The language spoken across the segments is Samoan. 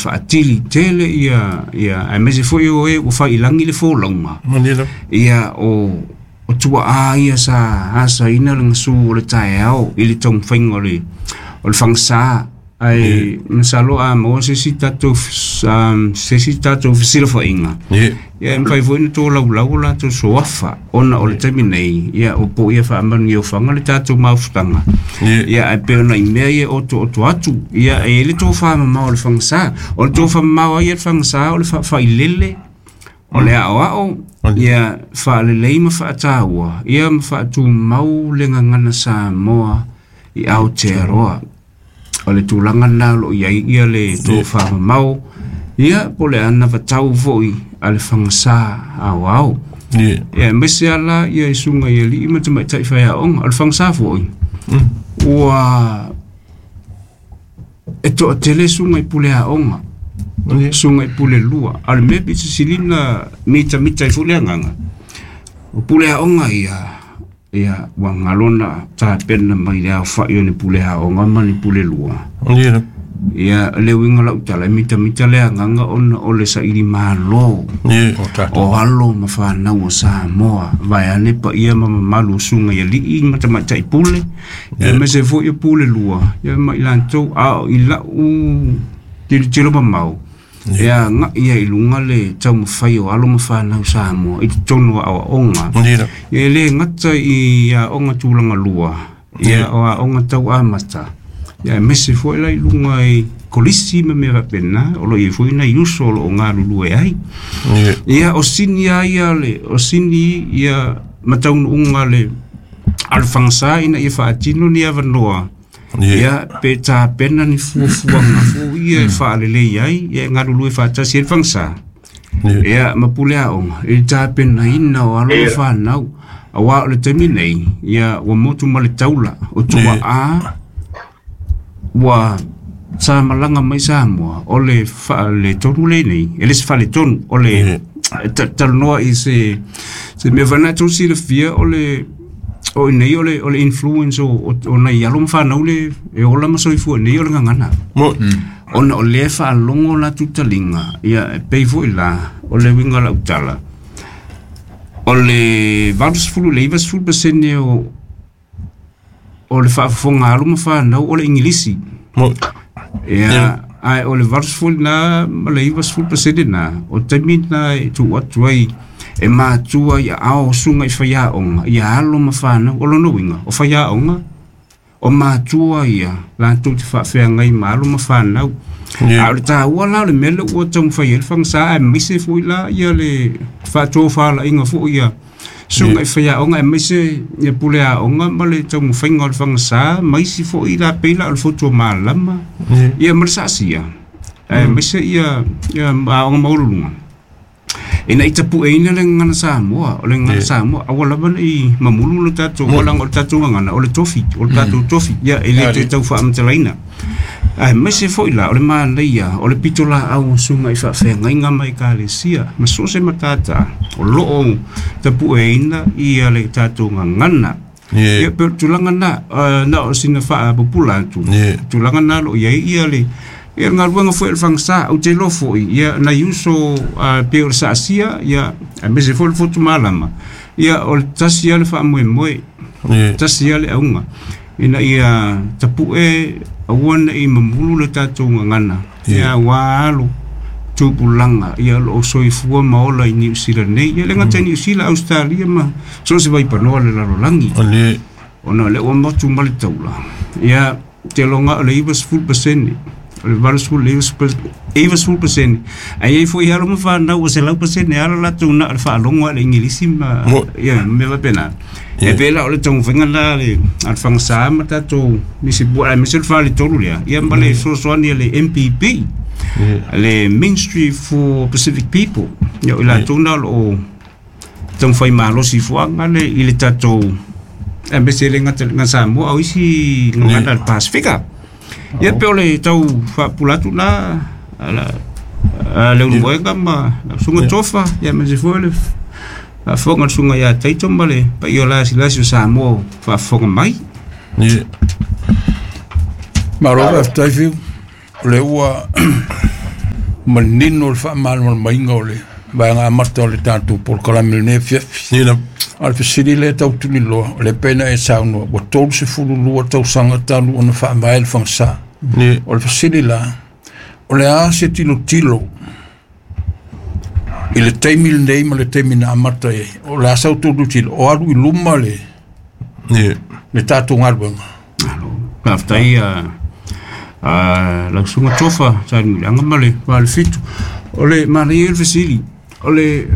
faatili tele ia ia aemaise foi o e ua failagi le folauga. Ia o tuaa ia sa asaina le gasu o le taeao i le taumafaiga o le fagasā ae masalo a maua se isi tatou se isi tatou fesilafaiga. Ia e mafai foi ona tolaulau o latou suafa ona o le taimi nei ia o po ia faamanuiaofaga le tatou mafutaga. Ia ae pei ona i mea ia otooto atu ia e i ai le tofamamao o le fagasā. O le tofamamao ai ia le fagasā o le faafailele o le aoao ia faalelei ma faataua ia ma faatumau le gagana Samoa i Aotearoa. O le tulaga lena o lo o i ai ia le tofamamao ia po o le anavatau foi a le fagasā aoao. Ia aemaise lava la ia i susuga i alii ma tamaitai faiaoga. O le fagasā foi ua e toatele susuga i pule aoga, susuga i pule lua. A o le mea pito sili ona mitamita ai foi le agaga, o pule aoga ia ia ua galo ona tapena mai le aofai o ni pule aoga ma ni pule lua. Ia le uiga o lau tala, e mitamita le agaga ona o le saili malo o alo ma fanau o Samoa, vaeane paia ma mamalu o susuga i alii ma tamaitai pule, aemaise foi o pule lua ia ma i latou. A o i lau tilotilo mamao, e agai ai i luga le taumafai o alo ma fanau Samoa i totonu o aoaoga. Ia e le gata i aoga tulaga lua, ia o aoga tau amata, ia aemaise foi la i luga i kolisi ma mea faapena, o lo o i ai foi nai uso o lo o galulue ai. Ia o sini lava ia o sini ia ma taunuuga le a le fagasā ina ia faatino ni avanoa. Ia pe tapena ni fuafuaga foi ia e faalelei ai, ia e galulue faatasi ai le fagasā. Ia ma pule aoga i le tapenaina o alo ma fanau, aua o le taimi nei ia ua motu ma le taula o tuaa ua sa malaga mai Samoa o le faaletonu lenei, e le se faaletonu, o le talanoa i se mea foi lena e tou silafia o le o i nei o le influence o nai alo ma fanau le e ola ma soifua nei o le gagana. Ona o lea e faalogo latou taliga, ia e pei foi la o le uiga o lau tala, o le 80 i le 90% o le faafofoga a alo ma fanau o le Igilisi. Ia, ae o le 80 na ma le 90% na, o taimi na e tuu atu ai e matua i aao o susuga i faiaoga, ia alo ma fanau. O lona uiga, o faiaoga, o matua ia latou te faafeagai ma alo ma fanau. A o le taua la o le mea lea ua taumafai ai le fagasā, aemaise foi la ia le faatofalaiga foi ia susuga i faiaoga, aemaise ia pule aoga ma le taumafaiga o le fagasā, ma isi foi la pei la o le fotu o malama, ia ma le saasia, aemaise ia aoga maualuluga. Ina ia tapueina le gagana Samoa, o le gagana Samoa, aua lava ne i mamulu le tatou, leaga o le tatou gagana, o le tofi, o le tatou tofi, ia e le toe tau faamatalaina. Aemaise foi la o le manaia o le pitolaau o susuga i faafeagaiga ma ekalesia ma so o se matata o lo o tapueina ia le tatou gagana. Ia pei o le tulaga lena, na o sina faapupula atu, tulaga lena o lo o i ai ia le ia le galuega foi a le fagasā. Ou te iloa foi ia nai uso pei o le saasia, ia aemaise foi le fotu malama, ia o le tasi lava le faamoemoe, tasi lava le auga ina ia tapue aua ne i mamulu le tatou gagana, ia aua alo tupulaga ia o lo o soifua ma ola i Niu Sila nei, ia le gata i Niu Sila, Ausetalia ma so o se vaipanoa o le lalolagi. Ona o lea ua motu ma le taula, ia te iloga o le 90%, o le 80 i le 90%, ae i ai foi alo ma fanau ua 100% lava lo latou na o le faalogo lava i le Igilisi ma ia mea faapena. E pei la o le taumafaiga lena a le fagasā ma tatou nisi bua, aemaise o le faletolu lea, ia ma le fesoasoani a le MPP, le Ministry for Pacific People, ia o i latou na o lo o taumafai malosi fuaga le i le tatou, aemaise e le gata i le Samoa, a o isi gagana a le Pasifika. Ia pei o le tau faapupula atu lena a le Ulumoega ma lau Susuga Tofa, ia aemaise foi o le faafofoga a le Susuga ia Taito ma le paia o lasilasi o Samoa o faafofoga mai. Malo faafetai Fiu, o lea ua Manino le faamalamalamaina o le vaega amata o le tatou polokalame lenei afiafi. Ia A o le fesili lea tau tuliloa, o le pei ona e saunoa, ua 32 tausaga talu ona faavae le Fagasā. Ia. O le fesili la, o le a se tilotilo i le taimi lenei ma le taimi na amata ai? O le a sau tilotilo, o alu i luma le Ia. le tatou galuega? Malo. Faafetai lau susuga Tofa Salemuliaga ma le 87. O le manaia ia o le fesili, o le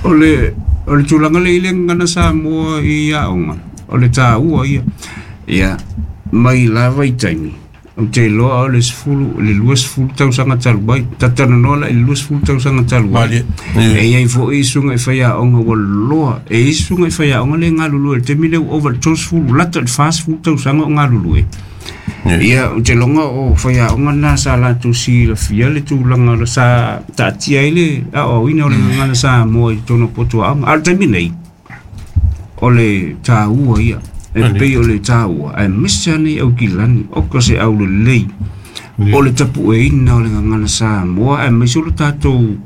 o le o le tulaga lea i le gagana Samoa i aoga, o le taua ia. Ia, mai lava i taimi, ou te iloa o le 10, le 20 tausaga talu ai, talatalanoa la i le 20 tausaga talu ai. Malie. E i ai foi susuga i faiaoga ua loa, e i ai susuga i faiaoga le galulue i le taimi lea ua ova i le 30, lata i le 40 tausaga o galulue. Ia, ou te iloga o faiaoga na sa latou silafia le tulaga sa taatia ai le aoaoina o le gagana Samoa i totonu o potu aoga. A o le taimi nei, o le taua ia, e pei o le taua, aemaise lava nei Aukilani, oka se aulelei, o le tapueina o le gagana Samoa, aemaise o le tatou,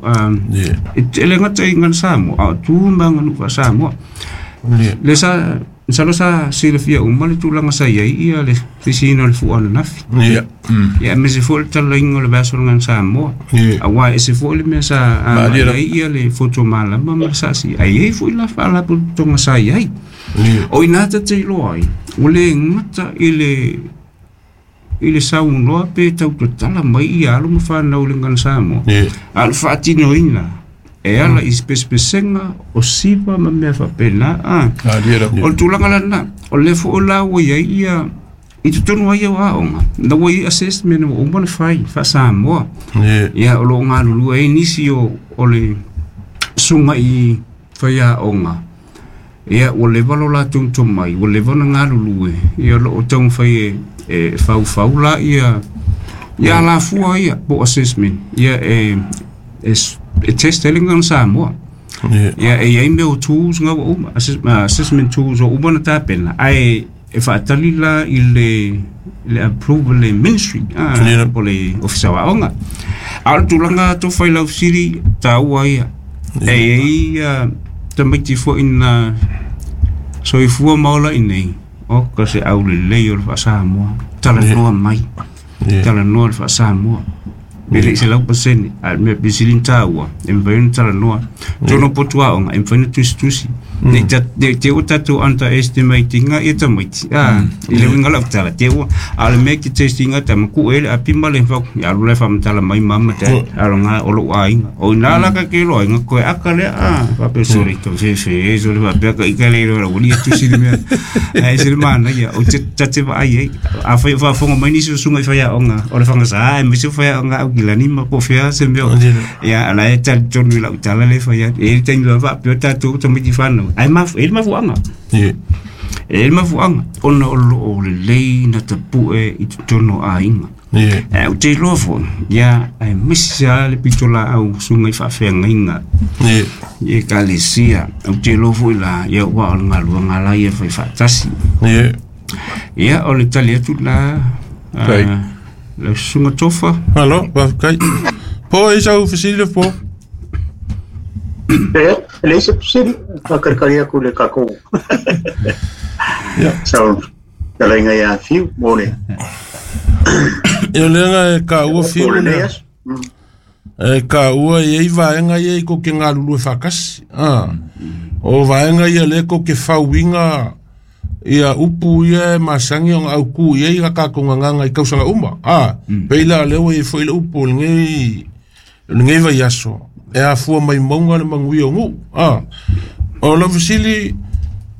e le gata i gagana Samoa, a o tu ma aganuu faa-Samoa. Le sa, masalo sa silafia uma le tulaga sa i ai ia le sisiina o le fua ananafi. Ia. Ia, aemaise foi le talaiga o le vaiaso o le gagana Samoa. Aua e ese foi le mea sa agai ai ia le foto malama ma le sasi. Ae i ai foi la faalapotopotoga sa i ai. O i ina ta te iloa ai, ua le gata i le i le saunoa pe tau tatala mai ia alo ma fanau i le gagana Samoa, a o le faatinoina e ala i pesepesega o siva ma mea faapena. O le tulaga la lena, o lea foi la ua i ai ia i totonu ai o aoga, na ua i ai assessment ua uma ona fai faa-Samoa. Ia, o lo o galulue ai nisi o le susuga i faiaoga. Ia, ua leva lo latou tomai, ua leva ona galulue, ia o lo o taumafai e faufau la ia ia alafua ia po o assessment, ia e test ai le gagana Samoa. Ia, e i ai mea o tools nga ua uma, assessment tools ua uma ona tapena, ae e faatali la i le approval le ministry, po o le Ofisa o Aoga. A o le tulaga Tofa i lau fesili, taua ia. E i ai tamaiti foi na soifua ma ola i inei, oka se aulelei o le faa-Samoa, talanoa mai, talanoa le faa-Samoa. E le i 100%, a o le mea pito sili ona taua, e mafai ona talanoa. Totonu o potu aoga, e mafai ona tusitusi. Ne i te i ua tatou underestimate ina ia tamaiti, i le uiga o lau tala, te i ua, a o le mea e te test ina tama, kuu e le api ma le fau, ia alu la e faamatala mai mama dad, a o lena o lou aiga. O ina la ka ke loa aiga, koe aka lea, faapea sorry, to fefe, sorry, faapea ka ika le iloa, ua lia tusi le mea. Ae ese le manaia, o te tate vaai ai. Afai o faafofoga mai nisi o susuga i faiaoga o le Fagasa, aemaise o faiaoga Aukilani ma po o fea se mea. Ia, la e talitonu i lau tala lea e fai atu. E i ai le taimi lava faapea tatou tamaiti fanau, ae e i ai le mafuaaga. E i ai le mafuaaga, ona o lo o lelei na tapue i totonu o aiga. Ae ou te iloa foi, ia, aemaise lava le pitolaau susuga i faafeagaiga i ekalesia. Ou te iloa foi la, ia, aua o le galuega la ia e fai faatasi. Ia, o le tali atu la, lau susuga Tofa. Malo, faafetai. Po e sau fesili le po? E leai se fesili, faakalikali atu le tatou sau fetalaiga ia Fiu mo le Ia o lea e taua mo Fiu lenei lea. aso. E taua e i ai vaega ia i kou ke galulue faatasi. O vaega ia lea kou ke fauina ia upu ia e masani ona autu i ai a tatou gagaga i tausaga uma. Pei la lea ua i ai foi le upu o lenei vaiaso e afua mai mauga le manuia o nuu. O lau fesili,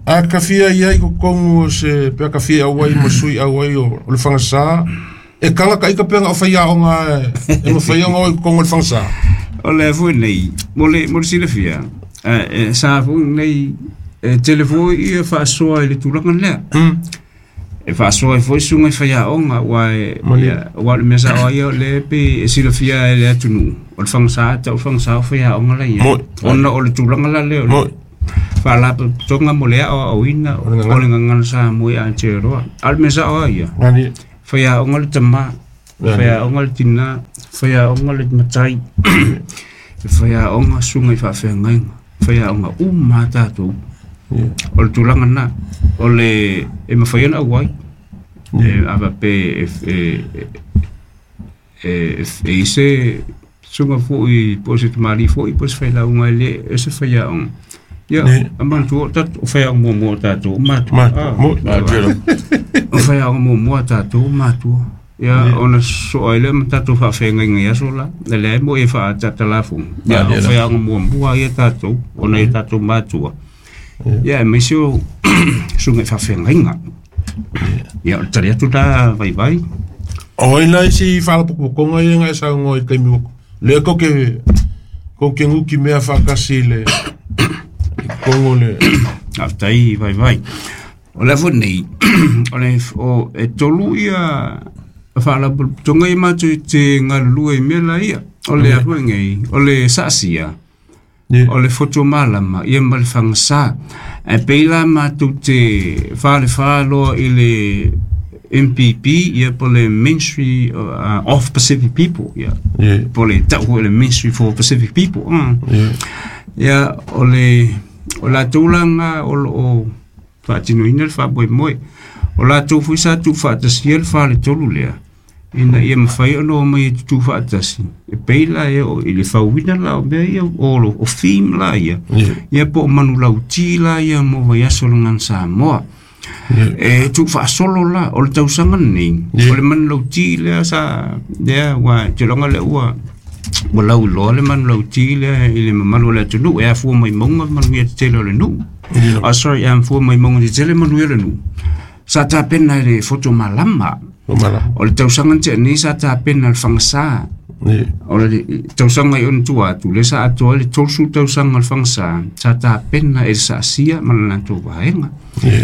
a tafia i ai totonu o se pe a tafia auai ma sui auai o le Fagasā, e taga taita pe na o faiaoga e mafai ona o i totonu o le Fagasā? O le foi nei, mo le silafia, sa foi nei, e tele foi ia faasoa i le tulaga lea. E faasoa ai foi susuga i faiaoga, aua aua o le mea sao ai o lea pe e silafia e le atunuu, o le Fagasā, tau le Fagasā o faiaoga la i ai. Ona o le tulaga la lea o le faalapotopotoga mo le aoaoina o le gagana Samoa i Aotearoa. A o le mea sao ai ia, faiaoga le tamā, faiaoga le tinā, Faiaoga le matai, e faiaoga susuga i faafeagaiga, faiaoga uma lava tatou. O le tulaga lena, o le e mafai ona auai, e a faapea e i ai se susuga foi po o se tamalii foi po o se failauga e le o se faiaoga. Ia, a manatua o tatou, o faiaoga muamua o tatou o matua. O faiaoga muamua o tatou o matua. Ia, ona soa ai lea ma tatou faafeagaiga i aso la. E leai mo e faatatalafoga. Ia, o faiaoga muamua ia tatou, ona i tatou matua. Ia, aemaise o susuga i faafeagaiga. Ia, o le tali atu la vaivai. O ai la isi faalapotopotoga ia na e saunoa i le taimi ua lea tou te tou te nutimea faatasi i le i totonu o le Faafetai vaivai. O le afu nei, o le o e tolu ia faalapotopotoga ia matou te galulue i mea la ia. O le afu nei, o le saasia, o le foto malama, ia ma le fagasa. Ae pei la matou te falefa loa i le MPP, ia po le Ministry of Pacific People, ia. Po le tau foi le Ministry for Pacific People. Ia, o le o latou la na o lo o faatinoina le faamoemoe. O latou foi sa tuufaatasia le faletolu lea, ina ia mafai ona omai e tutu faatasi, e pei la e oo i le fauina la o mea ia, o theme la ia, ia po o manulauti la ia mo vaiaso o le Gagana Samoa. E tuufaasolo la, o le tausaga lenei, o le manulauti lea sa, lea ua, te iloga lea ua, ua lauiloa le manulauti lea i le mamalu o le atunuu, e afua mai mauga manuia tetele o le nuu. Oh, sorry, e afua mai mauga tetele manuia o le nuu. Sa tapena e le Foto Malama. O le tausaga na tea nei sa tapena e le Fagasa. O le tausaga i ona tua atu, lea sa atoa ai le 30 tausaga o le Fagasa, sa tapena e le Saasia ma le latou vaega.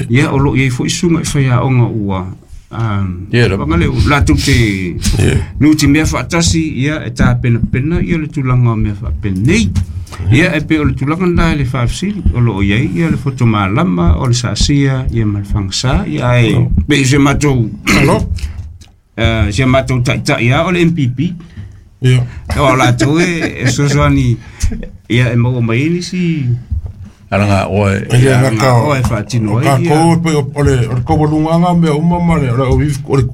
Ia, o lo o i ai foi susuga i faiaoga ua whangale, latou te nutimea faatasi, ia, e tapenapena ia le tulaga o mea faapenei. Ia, e pei o le tulaga lena i le faafesili, o lo o i ai ia le foto malama, o le saasia, ia ma le fagasa, ia, ae pei si a matou, si a matou taitai lava o le MPP. O latou e fesoasoani, ia, e maua mai ai nisi Alanga oe. E le gata o e faatino ai. O tatou pei o le taualugaga o mea uma ma le o le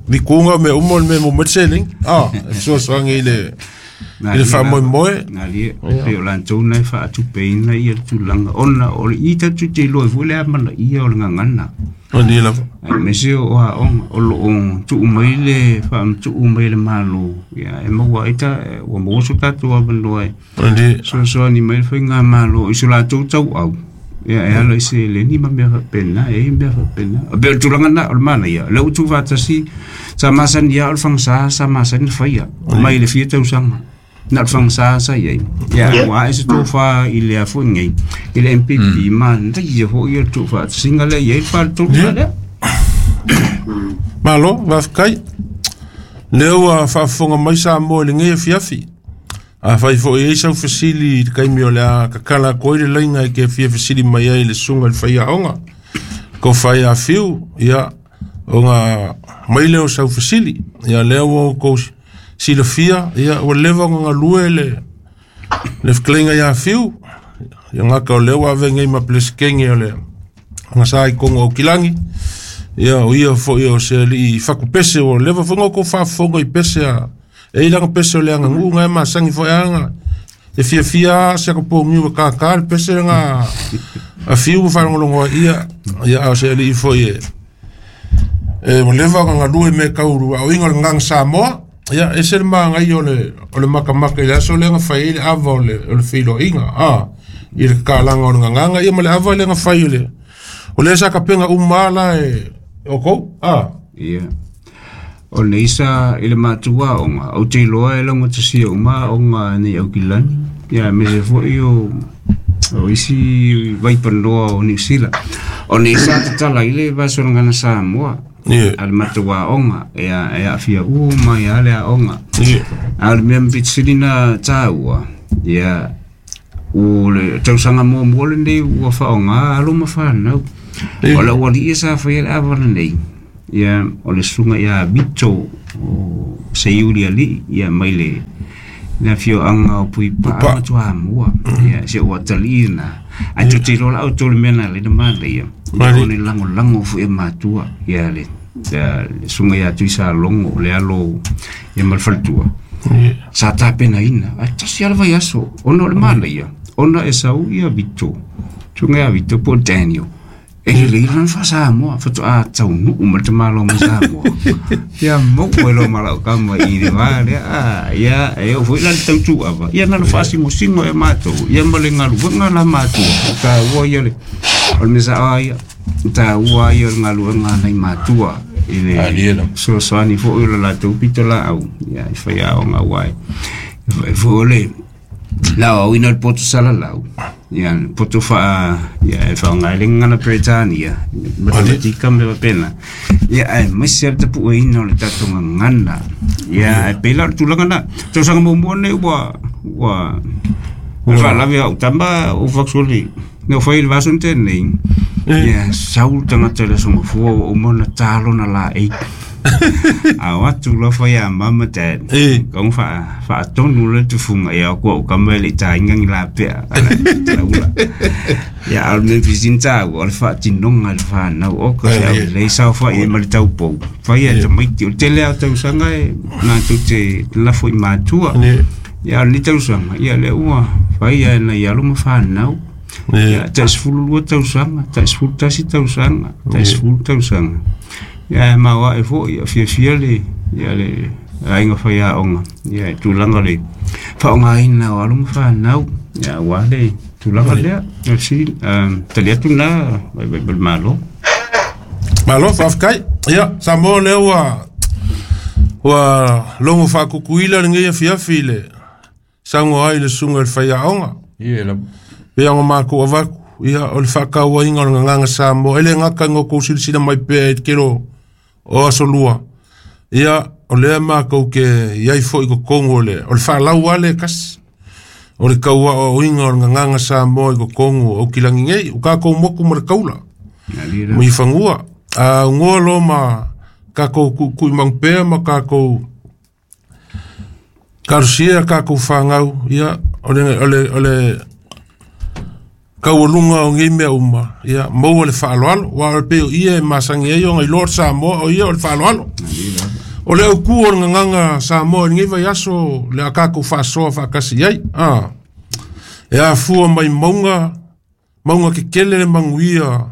vikuga o mea uma o le mea e maua mai le seleni. Ah, e fesoasoani i le faamoemoe. Galie, pei o latou na e faatupeina ia le tulaga ona o le i tatou te iloa ai foi le amanaia o le gagana. Malie lava. Aemaise o aoga o lo o tuu mai le faamatuu mai e le Malo, ia e maua ai ta ua maua so tatou avanoa e fesoasoani mai le faigamalo i so latou tauau, ia e ala i seleni ma mea faapena, e i ai mea faapena. E pei o le tulaga lena o le manaia, o lea ua tuufaatasi, sa masani lava o le fagasa sa masani ona faia mai le fia tausaga. Na o le fagasa sa i ai. Ia ua ae se tofa i le a foi nei, i le MPP, manaia foi le tuufaatasiga lea e i ai le faletolu lea. Malo, faafetai. Lea ua faafofoga mai Samoa i lenei afiafi. Afai foi e i ai sau fesili i le taimi o le a tatala atu ai le laina e te fia fesili mai ai i le susuga i le faiaoga, tofa ia Fiu, ia, ona mai lea o sau fesili. Ia, lea ua outou silafia, ia, ua leva ona galue le fetalaiga ia Fiu. Ia gata o lea ua ave nei ma Peresetene o le Gasa i totonu o Aukilani. Ia, o ia foi o se alii fatupese, ua leva foi ona outou faafofoga i pese a E i lana pese o le aganuu na e masani foi a e fiafia a se aka poniu e kākā le pese lena a Fiu ma faalogologo ai ia ia a o se alii foi e ua leva ona galue i mea tau aoina o le Gagana Samoa. Ia ese le manaia o le matamata i le aso lea na fai ai le ava o le feiloaiga a i le tatalaga o le gagana ia ma le ava lea na fai o le o lea sa tapena uma la e outou a. Ia. O nei sa i le matou aoga, ou te iloa e laugatasia uma aoga nei Aukilani, ia aemaise foi o isi vaipanoa o Niu Sila. O nei sa tatala ai le Vaso o le Gagana Samoa a le matou aoga, e aafia uma ai lava le aoga. A o le mea pito sili ona taua, ia, o le tausaga muamua lenei ua faaaoga alo ma fanau. O le aualii sa faia le ava lenei, ia, o le susuga ia Vito o Seiuli Alii, ia, mai le Le afioaga o Puipaa ma Toamua. Ia se ua talii na. Ae tou te iloa la outou le mea na ala ai ona manaia. O le lagolago foi e matua. Ia le susuga ia Tuisalogo le alo ia ma le faletua. Sa tapenaina ae tasi lava le vaiaso ona o le manaia ona e sau ia Vito, susuga ia Vito po o Daniel. E lelei lana faa-Samoa faatoa taunuu ma le tamaloa mai Samoa. Ia maua ai loa ma lau kama i le va lea. Ah, ia e oo foi la le tautuava. Ia na ona faasingosingo e matou ia ma le galuega la matua. O taua ia le o le mea sao lava ia, o taua ia o le galuega a nai matua i le fesoasoani foi o le latou pitolaau ia i faiaoga aua e foi o le le aoaoina o le poto salalau, ia le poto faa, ia e faaaoga ai le gagana Peretania, matematika ma mea faapena, ia aemaise lava le tapueina o le tatou gagana. Ia ae pei la o le tulaga lena. Tausaga muamua lenei ua ua o le faalavelave o au tama ua factually na ou fai i le vaiaso na tea nei, ia sau le tagata i le Aso Gafua ua uma ona ta lona laei. A o atu loa fai ia mama dad. Kau fa faatonu le tufunga ia ku au kama le tainga ngi la pea. Ala ia al me fisin ta o le faatinoga le whanau o ka se au lei sao fa i ma le taupou. Fai ia tamaiti o tele au tausaga e nā tou te lafo i matua. Ia o le tausaga ia le ua fai ia na ia alo ma whanau. Ia tai 12 tausaga, tai 11 tausaga, tai 10 tausaga. Ia e maoae foi, ia fiafia le, ia le aiga faiaoga, ia i tulaga o le faaaogaina o alo ma fanau, ia aua le tulaga lea. O le fesili, tali atu lena vaivai ma le Malo. Malo, faafetai. Ia, Samoa lea ua ua logo faakukuila lenei afiafi i le saunoa ai le susuga i le faiaoga. Ia lava. Pei ona matou avatu, ia, o le faatauaina o le gagana Samoa, e le gata ina outou silasila mai pea i le tele o aso lua, ia, o lea matou te i ai foi i totonu o le, o le faalau lava lea e tasi, o le tau aoaoina o le gagana Samoa i totonu o Aukilani nei, o tatou motu ma le taula, ma i fanua. A aunoa loa ma tatou tuutuuimanu pea ma tatou Talosia a tatou fanau, ia, o le, o le, o le taualuga o nei mea uma, ia, maua le faaaloalo. Aua e pei o ia e masani ai ona iloa le Samoa, o ia o le faaaloalo. O le autu o le gagana Samoa i lenei vaiaso, le a tatou faasoa faatasi i ai. A, e afua mai mauga, mauga kekele le manuia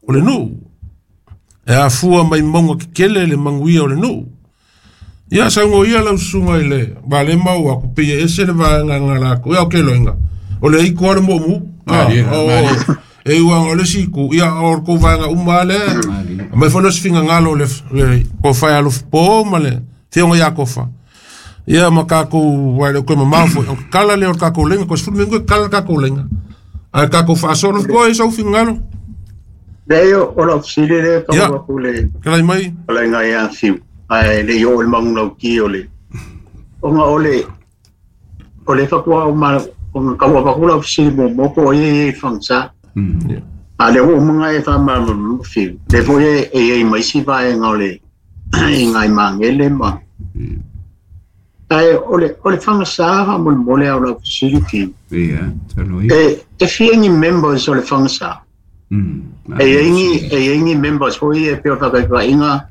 o le nuu. E afua mai mauga kekele le manuia o le nuu. Ia saunoa ia lau susuga i le vale mau aku pei e ese le vaega nga lakou. Ia o ke loinga. O le iko a le moomu. Malie, malie. E uaga o le isi itu, ia o kou vaega uma lea. Mai foi le fingagalo le le kofa e alofa po ma le fioga ia kofa. Ia ma tatou aua e le o toe mamao foi. O kala lea o le tatou laina, toe 10 minute kala le tatou laina. Ae tatou faasolo koe i sou finagalo. Leai, o lau fesili lea e Ia. tau atu le Kelai mai. fetalaiga ia Fiu, ae le i oo i le manulauti o le ona o le o le faatoa ou ma ona tau avatu lau fesili muamua po o ai e i ai i Fagasa. A o lea ua uma ona e faamalamalama Fiu, lea foi e i ai ma isi vaega o le i nai magele ma Ae o le o le Fagasa faamolemole a o lau fesili Fiu. Ia, talo ia. E fia ni members o le Fagasa? E i ai ni e i ai ni members foi e pei o le faataitaiga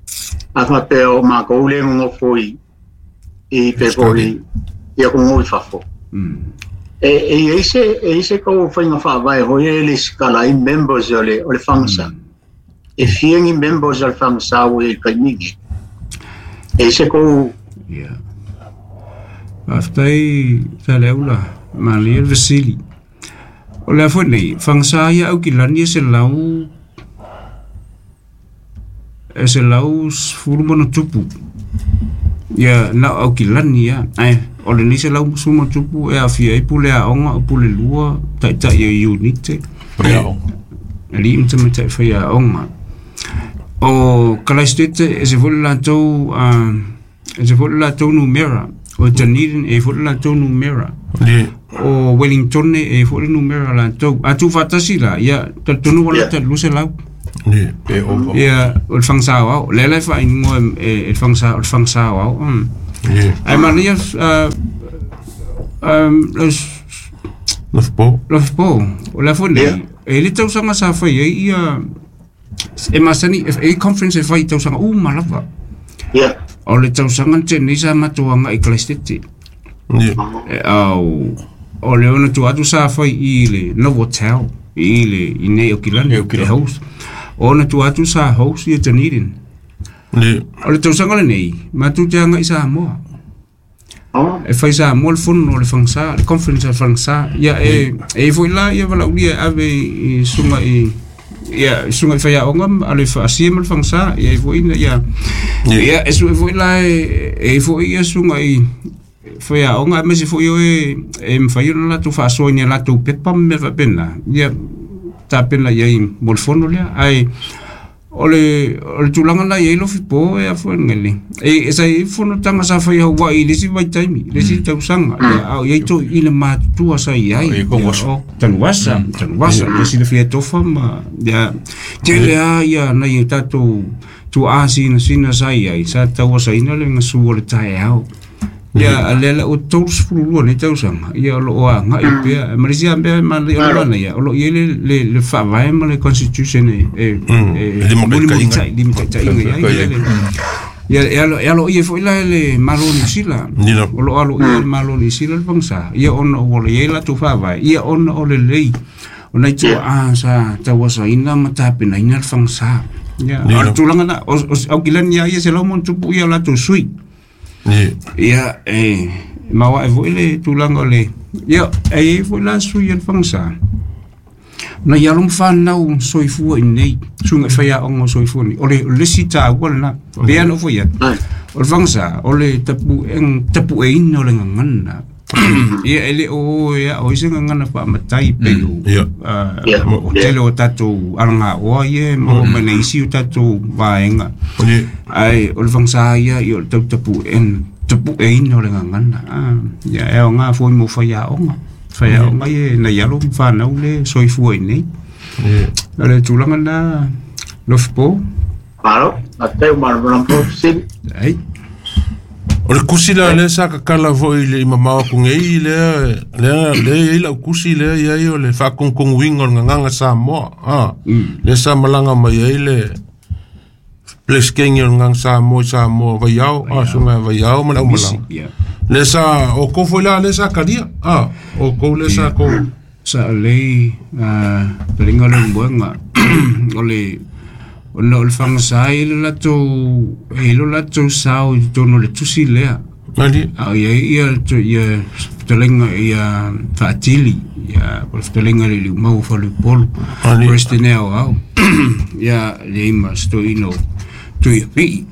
a faapea o matou lea e nonofo i i pe foi i atunuu i fafo. E e i ai se e i ai se tou faiga faavae foi e lesitala ai members o le o le Fagasa. E fia ni members o le Fagasa ua i ai i le taimi lenei? E i ai se tou Ia. Faafetai Saleaula, malie le fesili. O le a foi nei, fagasa ia Aukilani e 100 e 110+. Ia na o Aukilani ia. Ae o lenei 110+ e aafia ai pule aoga, o pule lua, taitai o unite. Alii ma tamaitai faiaoga. O Kalaisitete e ese foi le latou e ese foi le latou numera. O Dunedin e i ai foi le latou numera. O Wellingtone e i ai foi le numera o latou. A tuufaatasi la, ia talitonu ua lata i le 200. Ia, o le fagasa aoao. O lea la e faaigoa e le fagasa, o le fagasa aoao. Ae manaia Lofipo. Lofipo, o le afo nei, e le tausaga sa fai ai ia e masani e conference e fai tausaga uma lava. Ia. O le tausaga tenei sa matou agai i Christchurch. Ia. Au o le ona tua atu sa fai i le Novotel i le i nei o Kilani e host. O ona tua atu sa host i Dunedin. Ia. O le tausaga lenei, matou te agai i Samoa. E fai Samoa le fono o le Fagasa, le conference a le Fagasa. Ia e e foi la ia valaaulia e ave i susuga i ia susuga i faiaoga a le faasia ma le Fagasa. Ia e foi ia ia e sue foi la e foi ia susuga i faiaoga aemaise foi o e mafai ona latou faasoa i ni a latou pepa ma mea faapena. Ia tapena i ai mo le fono lea. Ae o le tulaga na i ai Lofipo e afua ngele. E sa i fonotaga sa fai Hawaii i le isi vaitaimi, le isi tausaga. A o i ai toeaiina matutua sa i ai. O Tanuvasa, Tanuvasa, ia silafia e Tofa ma ia tele lava ia nai o tatou tuaa sinasina sa i ai, sa tauasaina le gasu o le taeao. Ia, lea la ua 32 nei tausaga, ia o lo o agai pea. Ma le isi lava mea e manaia o le manaia, o lo o i ai le faavae ma le constitution e mulimulita'i, limataitaiga i ai. Ia, e aloaia foi la e le Malo o Niu Sila. O lo o aloaia e le Malo o Niu Sila le pagasa, ia ona ua i ai latou faavae, ia ona o lelei o nai tuaa sa tauasaina ma tapenaina le fagasa. Ia, o le tulaga lena, o Aukilani lava ia 100+ ia latou sui. Ia, e maoae foi le tulaga o le... Ia, e i ai foi la sui a le Fagasa, nai alo ma fanau soifua i inei, suiga i faiaoga o soifua nei. O le isi taua lena, pei lava ona ou fai atu, o le Fagasa, o le tapueina o le gagana. Ia, e le o e ao ai se gagana faamatai pei o o tele o tatou alagaoa ia e maua mai nai isi o tatou vaega. Ae o le fagasa ia, ia o le tau tapueina o le gagana. Ia, e aoga foi mo faiaoga. Faiaoga ia nai alo ma fanau le soifua i inei. O le tulaga lena, Lofipo. Malo, faafetai ua malamalama foi fesili. Ai. O le kusi la lea sa kakala foi i le i mamao atu nei lea lea lea e i ai lau kusi lea i ai o le faakogokogoina o le gagaga Samoa a lea sa malaga mai ai le Peresetene o le gagaga Samoa i Samoa Vaiao a susuga ia Vaiao ma le aumalaga lea sa outou foi la lea sa talia a outou lea sa tou Sa lelei taliga o le moega o le ona o le fagasa e i ai latou e i ai lo latou sao i totonu o le tusi lea. A o i ai ia ia fetalaiga ia Faatili ia po o le fetalaiga i le Liumau o Faleupolu, President Aoao ia le ma se toeaina o Tuiapii.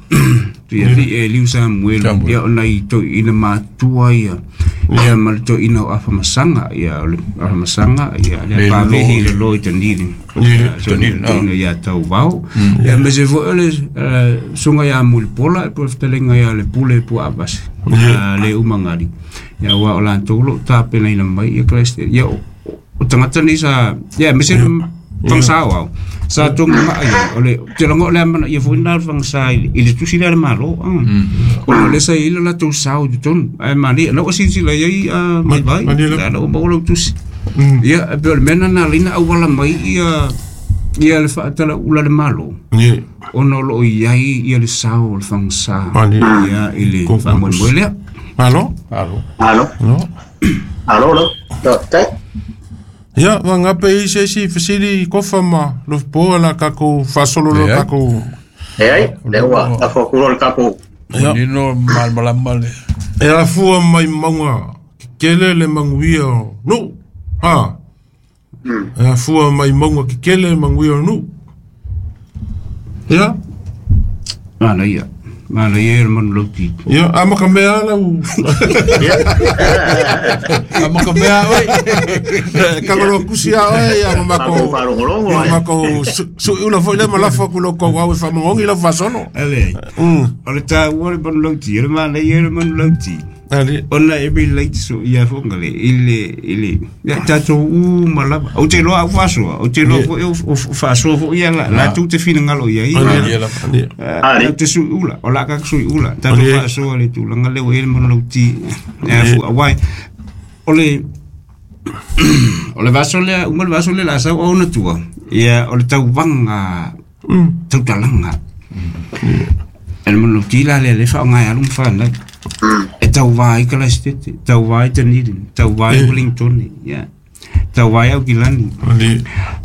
Tuiapii e Liu Samuelu ia o nai toeaina matutua ia ia ma le toeaina o Afamasaga ia o le Afamasaga ia le Pavehi le Lloyd Dunedin toeaina ia Tauvao ia aemaise foi o le susuga ia Mulipola po o le fetalaiga ia Lepule Puaavasi le Umagali ia aua o latou o lo o tapenaina mai ia Christ ia o tagata nei sa ia aemaise le fagasa o au sa tonga maa ia o le te logo o le amana ia foi na fagasa i le tusi lea a le Malo ona o lea sa i ai le latou sao i totonu ae manaia na ua silasila i ai Vaivai na ua maua lau tusi ia e pei o le mea lena na ala ai ona auala mai ia ia le faatalaula a le Malo ona o lo o i ai ia le sao o le fagasa ia i le faamoemoe lea. Malo. Malo. Malo. Malo lau. Faafetai. Ia, vagape i se isi fesili Kofa ma Lofipo la tatou faasolo loa tatou. Leai, lea ua lafo atu loa le tatou. Ia. Manino malamalama le. E afua mai mauga kekele le manuia o nuu. Ha. E afua mai mauga kekele le manuia o nuu. Ia. Manaia. Manaia le manulauti. Ia, amata mea lau. Amata mea oi. Kagolo kusi a oe ia ma mako. Faalogologo. Ma mako sui ula foi le ma lafo ku lo kou au e faamogongi lau faasolo. Ale. O le taua le manulauti, o le manaia le manulauti. Ali. Ona e relate so ia fonga le i le i le ia tatou uma lava. Ou te iloa au faasoa, ou te iloa foi o faasoa foi ia la latou te finagalo i ai. Ali. Te sui ula, o la ka sui ula. Tatou faasoa le tulaga lea ua i ai le manulauti. Ia fu aua O le o le vaso lea uma le vaso lea la sau ona tua. Ia o le tauvaga tautalaga. E le manulauti la lea le faaaoga e alu ma fanau. E tauvā ai Kalaisitete, tauvā ai Dunedin, tauvā ai Wellington, ia. Tauvā ai Aukilani.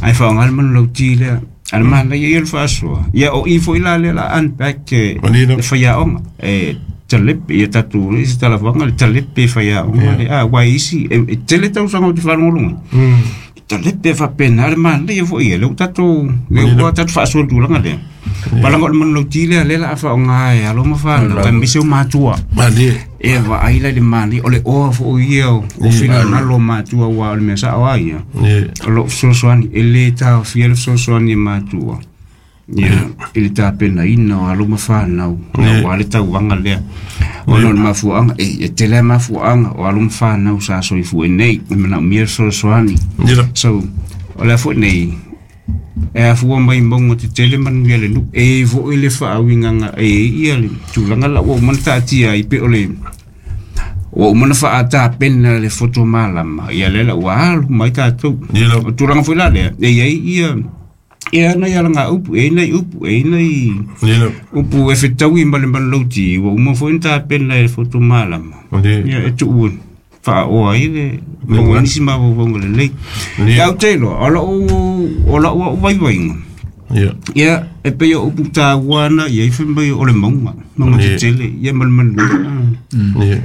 Ae faaaoga le manulauti lea. A le manaia ia o le faasoa. Ia o i foi la lea la unpack e faiaoga. E talepe, ia tatou i se talafaga le talepe e faiaoga le a uae isi e tele tausaga ou te faalogologo ai. Talepe e faapena le manaia foi ia lea ua tatou lea ua tatou faasoa i le tulaga lea. Palaga o le manulauti lea lea la a faaaoga e alo ma fanau aemaise o matua. E vaai la i le manaia o le oa foi ia o finagalo o matua aua o le mea sao lava ia. O loo fesoasoani e lē taofia le fesoasoani e matua ia i le tapenaina o alo ma fanau aua le tauvaga lea. Ona o le mafuaaga e tele lava mafuaaga o alo ma fanau sa soifua nei e manaomia le fesoasoani. So o le a foi nei e afua mai mauga tetele manuia le nuu e foi le faauigaga e ia le tulaga la ua uma ona taatia ai pe o le ua uma ona faatapena le foto malama ia lea la ua alu mai tatou. O tulaga foi la lea e iai ia e ana ia laga upu e nai upu e nai upu e fetaui ma le manulauti ua uma foi ona tapena e le foto malama ia e tuu faaoa ai le maua ai nisi mafaufauga lelei. Ia ou te iloa, o lau au vaivaiga, ia e pei o upu taua na i ai fai mai o le mauga, mauga tetele, ia ma le manuia.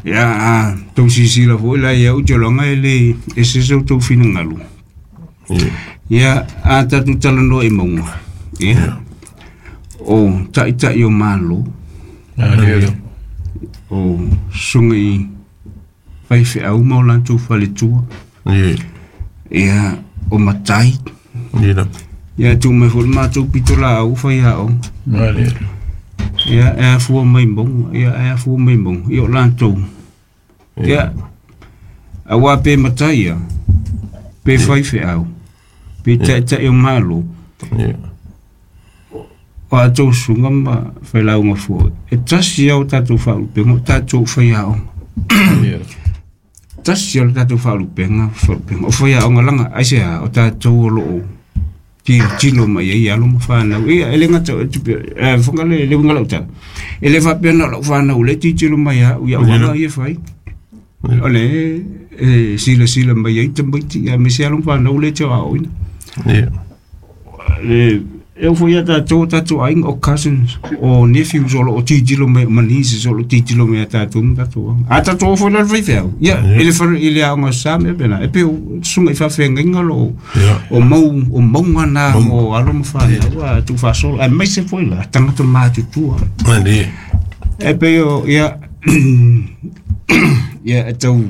Ia a tou silasila foi la ia ou te iloaga e le ese se outou finagalo. Ia a tatou talanoa i mauga, ia o taitai o Malo, o susuga i faifeau ma o latou faletua, ia o matai, ia tuu mai foi le matou pitolaau faiaoga. Ia e afua mai mauga, ia e afua mai mauga, ia o latou. Ia aua pe matai ia, pe faifeau, pe taitai o Malo, o atou susuga ma failauga fua, e tasi lava o tatou faalupega, o tatou faiaoga. Tasi lava le tatou faalupega, o faiaoga laga aisea o tatou o loo tilotilo mai ai alo ma fanau. Ia e le gata fofoga le uiga o lau tala, e le faapea na o lau fanau lea e tilotilo mai au i au aga ia e fai. O le e silasila mai ai tamaiti aemaise alo ma fanau lea e te aoaoina. Le e oo foi ia tatou o tatou aiga o cousins o nephews o loo tilotilo mai ma nieces o loo tilotilo mai ia tatou ma tatou aga. A tatou oo foi la i le faifeau, ia i le fale i le aoga sa ma mea faapena, e pei o susuga i faafeagaiga o loo o mau o mauga na mo alo ma fanau a tuufaasolo aemaise foi la tagata matutua. E pei o ia ia e tau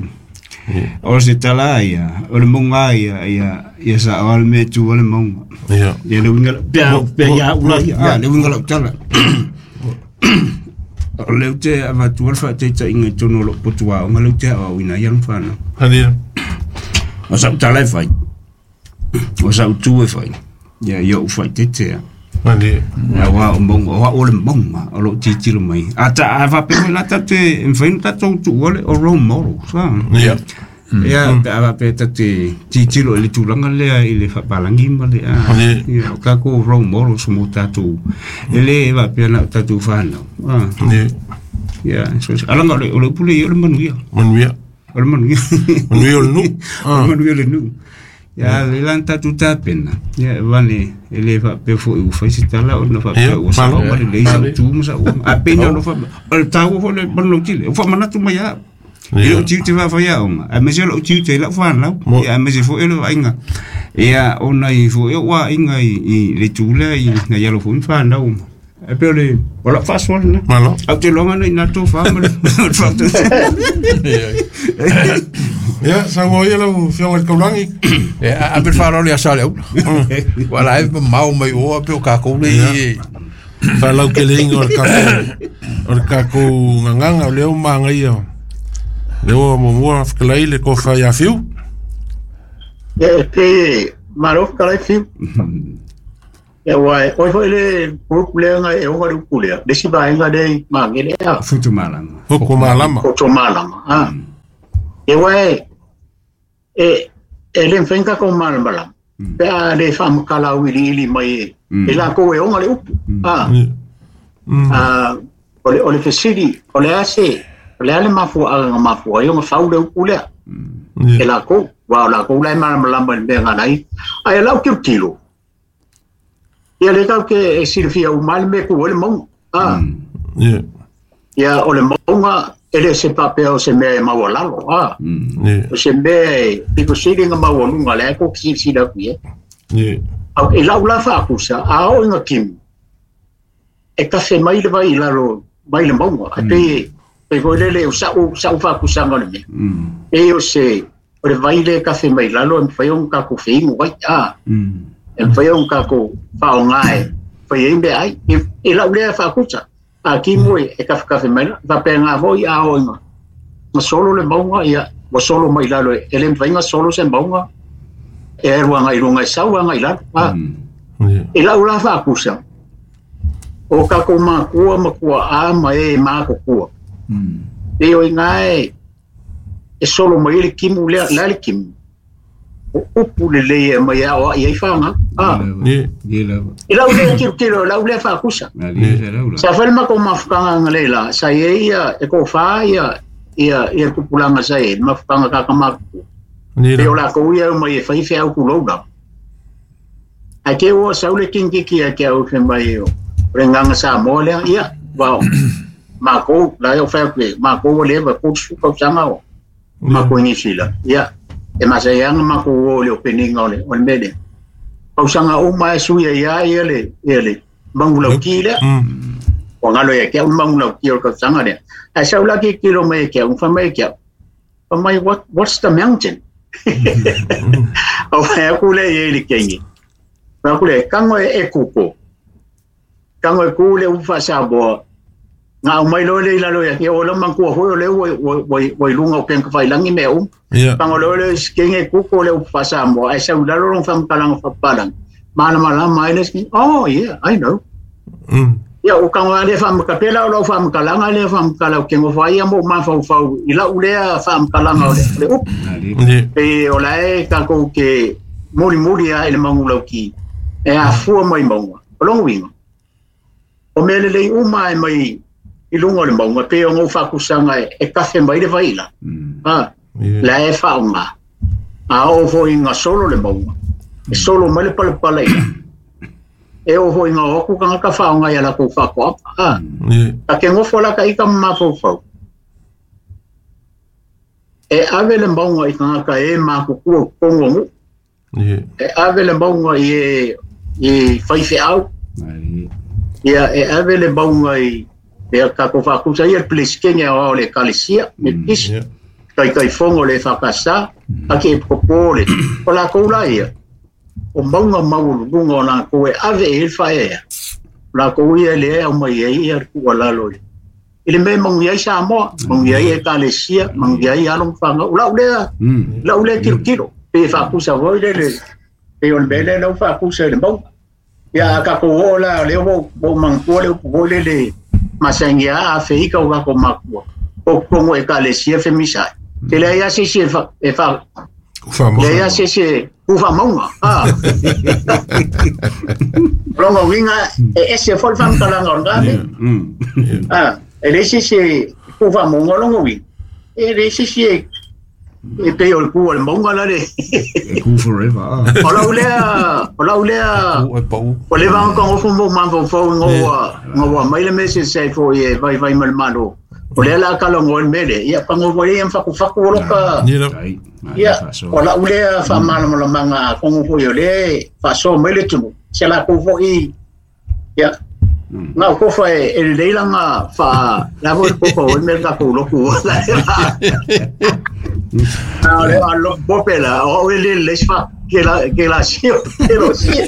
o se tala ia o le mauga ia ia ia sao le mea e tu ai le mauga. Ia le uiga pe pe ia ula ia le uiga o lau tala. O lea ou te avatua le faataitaiga i totonu o lou potu aoga lea ou te aoaoina ai alo ma fanau. O sau tala e fai, o sau tu e fai, ia ia ou faaeteete lava. Aua o mauga, o au o le mauga o loo tilotilo mai. A ta a faapea foi la tatou te e mafai ona tatou tuua le o role models a. Ia pe a faapea tatou te tilotilo i le tulaga lea i le faapalagi ma le a. Ia o tatou role models mo tatou e le faapea na o tatou fanau. Ia so alaga o le upu lea ia o le manuia. Manuia. O le manuia. Manuia o le nuu. O le manuia o le nuu. Ia lea la na tatou tapena, ia e vane e le faapea foi ua fai se tala ona faapea ua sao ma lelei sau tu ma sau a pei na ona faapea o le taua foi le manulauti lea, ua faamanatu mai lava au. I lou tiute faafaiaoga, aemaise o lou tiute i lau fanau, ia aemaise foi o le vaaiga ia o nai foi ou aiga i le itu lea i nai alo foi ma fanau. E pei o le o lau faasoa lena. Malo. Ae ou te iloa na ina tofa ma le Ia, saunoa ia lau Afioga i le Taulagi. Ia, ave le faaaloalo ia Saleaula. Aua la e mamao mai o a pei o tatou lea i Faalauteleina o le tatou o le tatou gagana o lea ua manaia. Lea ua muamua fetalai le tofa ia Fiu. Ia, e pei malo fetalai Fiu. Ia aua e oe foi le group lea na e ona le upu lea, le isi vaega lea i Magele a. Futumalama. Futumalama. Futumalama, a. E wae e le mawhainga kou malamalama. Pe a le whamakala uili ili mai e la kou e onga le upu. O le fesili, o le ase, o le ale mafua aga mafua, i onga whau le upu lea. E la kou, wa o la kou lai malamalama i mea ngai. Ai e lau kilo kilo. Ia le tau ke e silafia umali me ku o le maunga. Ia o le maunga e le se papea o se mea e maualalo. O se mea e piko sili nga maualunga le ko sila ku e. Au e lau la whaakusa, a o inga kimu. E kafe mai le vai lalo, mai le maunga. A pe foi lele o sa'u whaakusanga le mea. E o se, o le vai le kafe mai lalo, e mwhai o ngā whingu vai. E mwhai o ngā whaongae, whai e mea ai. E lau lea whaakusa. A kimu e kafe kafe mai la, whapea ngā hoi a o inga. Nga solo le maunga, ia, wa solo mai lalo, e le mwhai nga solo se maunga, e erua ngai runga e sau ngai lalo. E lau la whaakusa. O kako makua makua a ma e makokua. E o inga e solo mai le kimu lea la le kimu. O upu le lei e mai ao i ai whanga. E lau lea kilo kilo, lau lea whaakusa. Sa whale mako mafukanga nga leila, sa e ia e ko wha ia ia kupulanga sa e, mafukanga kaka makua. E o la kou ia mai e whaiwhe au kulouna. A ke o saule kingiki a ke au whe mai o. O nganga sa moa lea, ia, wao, mako, la o whea koe, mako o lewa, kōtsu kau sanga o, mako ingi sila, ia, e masa ianga mako o le o peninga o le mele. Kau sanga o mai suia ia, ia le, mangulau ki lea, o ngalo ia kia, o mangulau ki o kau sanga lea. A saula ki kilo mai kia, o whamai kia, whamai, what's the mountain? O whea kule ia i le kengi. Whea kule, kango e kuko. Kango e kule ufa sa boa. Ngā umai loe le ilalo ia, kia o lau mangkua hoi o le ua ilunga o kenka whailangi mea um. Kango loe le kenge kuko le ufa sa boa. Ai sa ulalo rong whamkalanga whapalang. Mana malama ai le oh yeah, I know. Ia o kango ale whamakapela o lau whamakalanga le whamakala o kengo whaia mo mawhauwhau. I lau lea whamakalanga o le up. E o lae kako ke muri muri a ele mangulau ki. E a fua mai maunga. O longo winga. O mele lei uma e mai i lunga o le maunga, pe o ngau whakusanga e kafe mai le vaila. La e whaonga. A o hoi ngā solo le maunga. E solo mai le palepala ila. E o hoi ngā oku ka ngaka whaonga ia la kou whakoapa. Ka ke ngofo la ka ika mawhauwhau. E ave le maunga i ngaka e makukua kongongu. E ave le maunga i e whaiwhe au. Ia e ave le maunga i e kako whakusa ia le o le kalesia me kisi kai kai fongo le whakasa a ke popole o la koula ia o maunga maulunga o la koe ave e whaea la kou ia le au mai e ia kua lalo i le me mangu ia Samoa mangu ia e kalesia mangu ia i along whanga o lau lea kilo kilo pe whakusa voi le pe o le mele lau whakusa le maunga ia ka ko la le o mangkua le o le le masangia a feika o kako makua o kongo e kalesia femisai te le ia se se e fa le ia se se ufa maunga longo winga e ese fol fam kalanga ngame e le se se ufa maunga longo wi e le se se e pe o ku o maunga la le ku forever o la ulea o le vang ko fo mo man fo ngo mai le message sai fo e vai vai mal malo o le la kala ngo mele ia pango fo ia fa ku lo ka ia o la ulea fa mal mo manga ko fo yo le fa so mele tu se la ko fo i ia ngā ko fa e le langa fa la vo ko ko mele ka ko lo ku la le lo popela o le le fa que la sio que lo sio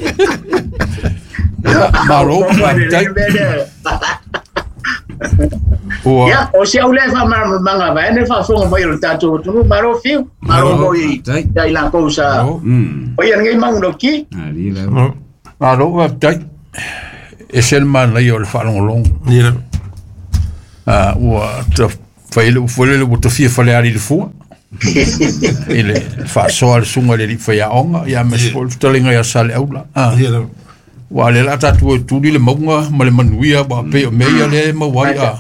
malo ya o se au le fa manga va ne fa fonga mai o tatu tu maro fiu maro moi dai la cousa o ia ngai mangu ki malo va tai e sel man la yo le fa long long ua ta faile le ua tafia faleali le fua I le faasoa le suga le alii faiaoga ia ma se foi le fetalega ia Saleaula ua le la tatou e tuli le mauga ma le manuia ua pei o mea ia lea e maua ai a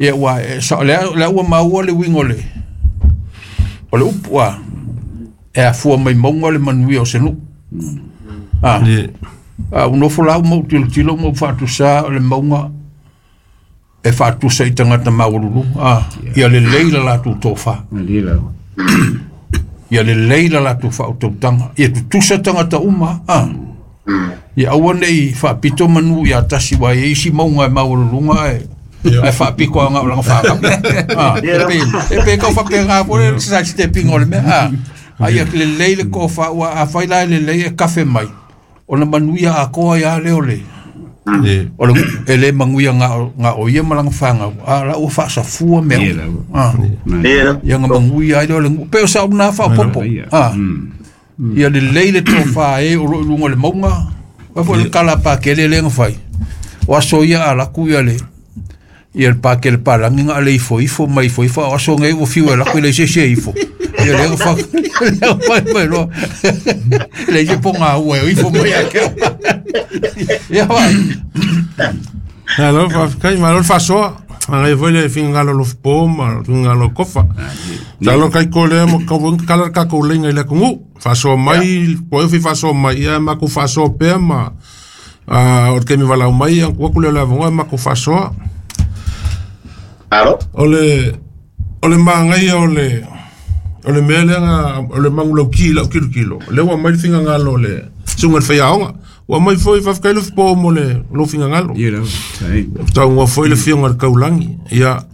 ia ua lea ua maua le uiga o le upu a e afua mai mauga le manuia o se nuu a unofo lau mau tilotilo mau faatusa o le mauga e faatusa i tagata maualuluga ia lelei la latou tofa ia lelei la latou faautautaga ia tutusa tagata uma ia aua nei faapito manu ia tasi ua i isi mauga e maualuluga e faapito aga o laga fagau e pe kau faapega po le side stepping o le mea ai lelei le tofa ua afai la lelei e kafe mai ona manuia atoa ia le o le o le e le manuia nga o ia ma langa fagau a la ua faasafua mea ia nga manuia ai le o le pe o sa una faapopo ia lelei le tofa e o loo i luga o le mauga ua foi le kala pakele le gafai o aso ia alaku ia le ia le pakele palagi ga le ifo ifo mai ifo ifo o aso nei ua fiu e laku i le ise ifo ia le gafa le fai mai loa le ise ponga ua e ifo mai a ke ia vai alo faafetai malo le faasoa agai foi le finagalo lofopo ma finagalo kofa talo kai ko lea mo kala ka ko lenga i le atunuu faasoa mai po e fi faasoa mai ia ma ku faasoa pea ma o le taimi valau mai ua ku le le avanoa ma ku faasoa alo o le magaia o le mea lea o le magulauki i lau kilokilo lea ua mai le finagalo o le suga le faiaoga ua mai foi faafetai le fopo mo le lou finagalo tauga foi le fioga le kaulagi ia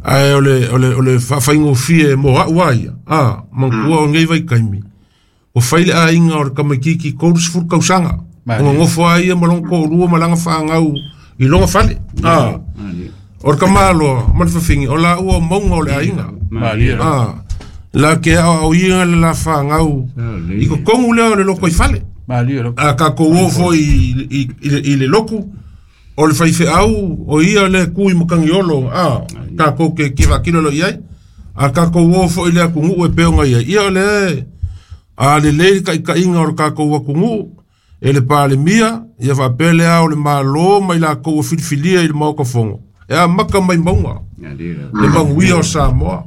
ae o le faafaigofie mo a'u a ia manatua o nei vaitaimi ua fai le aiga o le tamaititi 30 tausaga o gagofo a ia ma lona toalua ma laga fagau i lona fale o le tamaloa ma le fafine o laua o mauga o le aiga la ke aoaoina le la fagau i totonu lea o le loko i fale a tatou o foi i le loku o le faifeau o ia le tu i matagiolo tatou te kivaakilo lo i ai a tatou o foi le atunuu e pei ona i ai ia o le a lelei le taitaiga o le tatou atunuu e le Palemia ia faapea le ao le Malo mai latou ua filifilia i le Maota Fono e amata mai mauga le manuia o Samoa